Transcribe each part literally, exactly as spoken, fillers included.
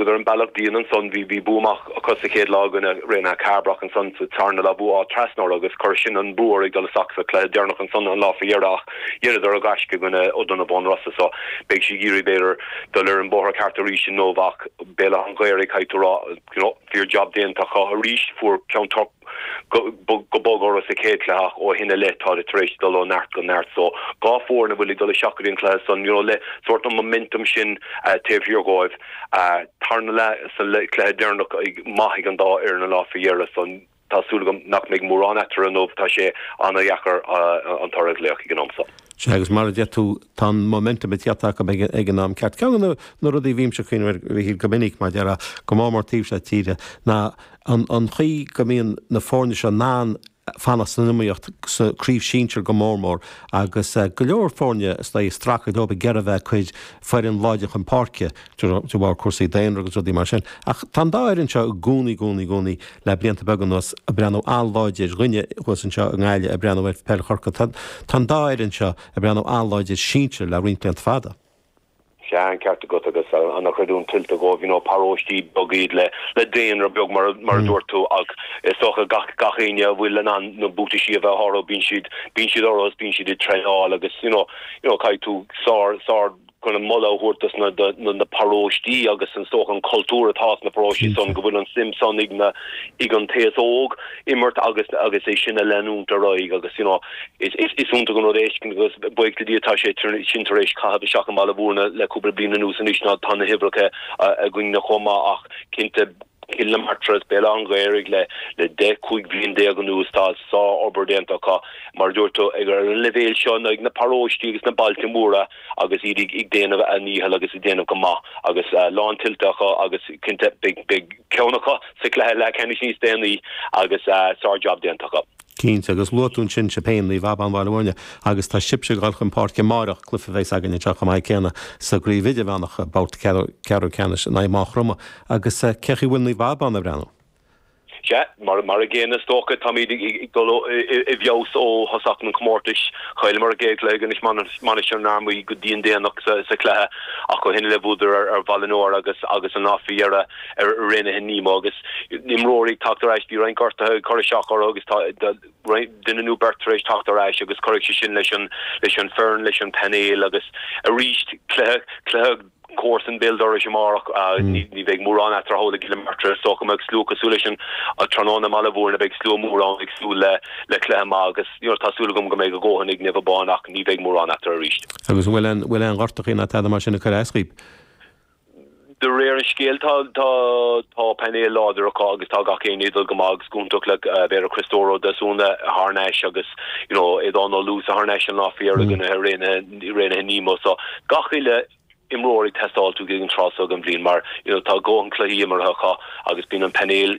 Thugadar an bealach dian ansan, bhí bhí bua maith acu sa chéad lá i gcoinne Raonaithe Cairbre ansan sa tarna lá bua trasna orthu agus chuir sin an brú orthu ag dul isteach sa chluiche deireanach ansan an lá faoi dheireadh ach dheineadar a gaisce i gcoinne Ó Donnabháin Rosa so beidh siad ag iarraidh b'fhéidir dul ar an bóthar ceart arís inniu ach Béal Átha an Ghaorthaidh caithfidh tú rá you know fíor job déanta acu arís fuair Ceann Toirc go go bog orthu sa chéad chluiche ach ó shin i leith tá tar éis dul ó neart go neart so dhá foireann a bhfuil ag dul isteach go dtí an cluiche san you know le sort an momentum sin uh, taobh thiar dhóibh uh, tarna le sa cluiche deireanach ag maith ag an dá fhoireann an lá faoi dheireadh san tá súil agam nach mbeidh mórán eatarthu inniu tá sé an-dheacair uh, an toradh a léamh ag an am seo. Sea agus mar a deir tú tá an momentum ag teacht acu ag ag an am ceart. Ceann na na rudaí bhímse ag cuimhneamh go minic mar deara go mór mór taobh seo tíre ná an an chaoi go mbíonn na foirne seo in ann fanacht san iomaíocht sa chraobh sinsir go mór mór agus uh, go leor foirne is ag streachailt leo ag iarraidh bheith cuid foireann láidir chun páirce de bharr cúrsaí daonra agus rudaí mar sin. Ach tá an dá fhoireann seo i gcónaí gcónaí gcónaí le blianta beaga anuas ag breathnú an-láidir dhuine thuas anseo i nGaillimh ag breathnú ar peil Chorcaí. Tá an dá fhoireann seo ag breathnú an-láidir sinsir le roinnt blianta fada. Sea an ceart agat agus an chreidiúint tuillte dóibh you know, paróistí beaga iad le le daonra beag mar mar mm. dúirt tú ach is dócha gach gach éinne a bhfuil an an na buataisí a bheith orthu bíonn siad bíonn siad orthu bíonn siad ag traenáil agus you know, you know, caithfidh tú sár sár chun an moladh a thabhairt na, na, na paróistí agus an sórt an cultúr atá na paróistí san go bhfuil an suim san ag na ag an t-aos óg imirt agus agus é sin a leanúint ar aghaidh agus you know, is is is iontach an rud é agus buíochas le Dia tá sé sin tar éis caitheamh isteach an Baile Bhúirne le cúpla bliain anuas anois ná tá na huimhreacha againn na chomh maith ach cinnte Cill na Martra Béal an Ghaorthaidh le le deich cúig bhliain déag anuas tá sár-obair déanta acu mar dúirt tú ag ar an leibhéal seo ag na paróistí agus na bailte móra agus iad ag déanamh a ndícheall agus ag déanamh go maith agus uh, lán tuillte acu agus cinnte beidh ceann acu sa chluiche leathcheannais níos déanaí agus uh, sár-job déanta acu. Cinnte agus luaigh tú ansin sibh féin Naomh Abán Bhaile Bhúirne agus tá sibhse ag dul chun páirce amárach cluiche a bheas againn anseo chomh maith céanna sa gcraobh idirmheánach babhta ceathrú ceannais in aghaidh Maigh Chromtha agus cén chaoi a bhfuil Naomh Abán ag breathnú. Sea, mar mar a gcéanna is dócha táimid ag dul i bhfeabhas ó thosach an chomórtais chailleamar an chéad chluiche anois Mainistir na hArmaí go dian déanach sa sa chluiche ach ó shin le bhuadar ar ar Bhaile an Iúir agus agus an lá faoi dheireadh ar Raonaithe Nemo agus imreoirí teacht ar ais bhí roinnt gortuithe cur isteach orthu agus tá duine nó beirt tar éis teacht ar ais agus chuirfidh sé sin leis an leis an foireann leis an painéal agus arís cluiche cluiche comharsan béal dorais amárach ní ní bheidh mórán eatarthu le Cill na Martra so go mbeidh slua cosúil leis an tráthnóna i mBaile Bhúirne beidh slua mór ann ag súil le le cluiche maith agus you know, tá súil agam go mbeidh a ndóthain ag Naomh Abán ach ní bheidh mórán eatarthu arís. Agus bhfuil an bhfuil aon ghortachaí ná tada mar sin ag cur as daoibh. De réir an scéil tá tá tá painéal láidir acu agus tá gach aon dul go maith agus iontach le b'fhéidir Christóro Desúna thar n-ais agus you know Aodán Ó Lús thar n-ais an lá faoi dheireadh Raonaithe Nemo so gach uile imreoir ag teastáil uait ag an tráth seo den bhliain mar you know, tá go cluichí imeartha acu agus bíonn an painéal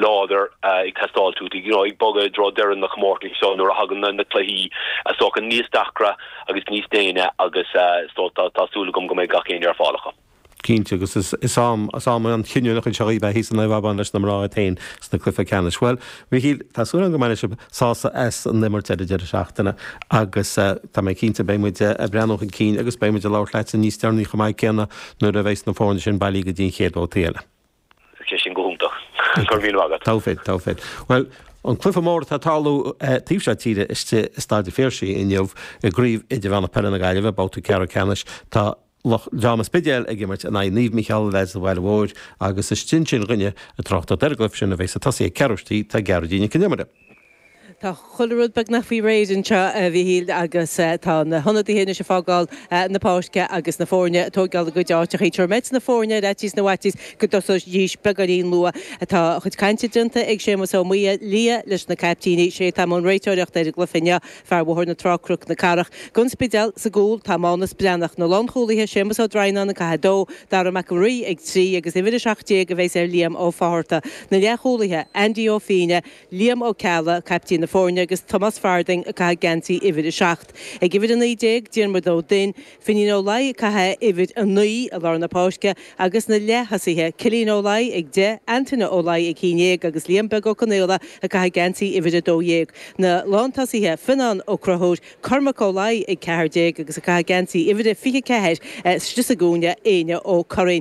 láidir uh, ag teastáil uait you know, ag bogadh i dtreo deireadh na comórtais so nuair a thagann na, na cluichí a socha níos deacra agus níos déine agus uh, so tá tá súil agam go mbeidh gach aon ar fáil acu. Cinnte agus is is am is am an chinniúnach seo í bheith san Abán leis na mná féin sna cluiche ceannais. Well, Mhichíl tá súil go mbeidh sibh sásta as an imirt ar an deireadh seachtaine agus uh, tá mé cinnte beidh muid ag breathnú chun cinn agus beidh muid ag labhairt leat níos deireanaí chomh maith céanna nuair a bheas na foirne sin bailí go dtí an chéad bhabhta eile. sé sin go hiontach. Go raibh míle agat. Tá féid, tá féid. Well, an cluiche mór atá ag tarlú taobh seo tíre istigh i Staid an Phiarsaigh inniu i gcraobh idirmheánach peile na Gaillimhe babhta ceathrú ceannais tá Dream an Spidéil ag imirt in aghaidh Naomh Mícheál leis an Bhaile Mhóir agus istigh ansin dhúinne ag tráchtaireacht ar an gcluiche sin a bheas ag tosaí ag ceathrú tar éis tá Gearóidín Nic Con Iomaire. Tá chuile rud beagnach faoi réir anseo a Mhichíl agus tá na hionadaithe anois ag fágáil na páirce agus na foirne ag tógáil a gcuid áiteacha. Tabharfaidh mé na foirne ar fhaitíos na bhfaitíos go dtosóidís beagáinín luath atá chuid cainte déanta ag Séamus Ó Muia lia leis na caiptíní sé tá an réiteoireacht ar an gcluiche inniu fear Bhóthar na Trá Cnoc na Cathrach. Don Spidéal sa gcúl tá Mánas Breathnach na lánchúlaithe Séamus Ó Droighneáin ag caitheamh dó, Dara Mac Rí ag trí agus uimhir a seacht déag a bheas ar Liam Ó Fátharta. Na leathchúlaithe Andy Ó Fíne, Liam Ó Cealla, caiptín na foirne agus Tomás Farding ag caitheamh geansaí uimhir a seacht. Ag uimhir a naoi déag Diarmuid Ó Duinn, Finín Ó Laoi ag caitheamh uimhir a naoi i lár na páirce agus na leath-thosaithe Cillian Ó Laoi ag deich, Antaine Ó Laoi ag haon déag agus Liam Beag Ó Conaola ag caitheamh geansaí uimhir a dó dhéag. Na lántosaithe Fionnán Ó Conchúir, Cormac Ó Laoi ag ceathair déag agus ag caitheamh geansaí uimhir a fiche ceathair istigh sa gcúinne Éanna Ó Curraoin.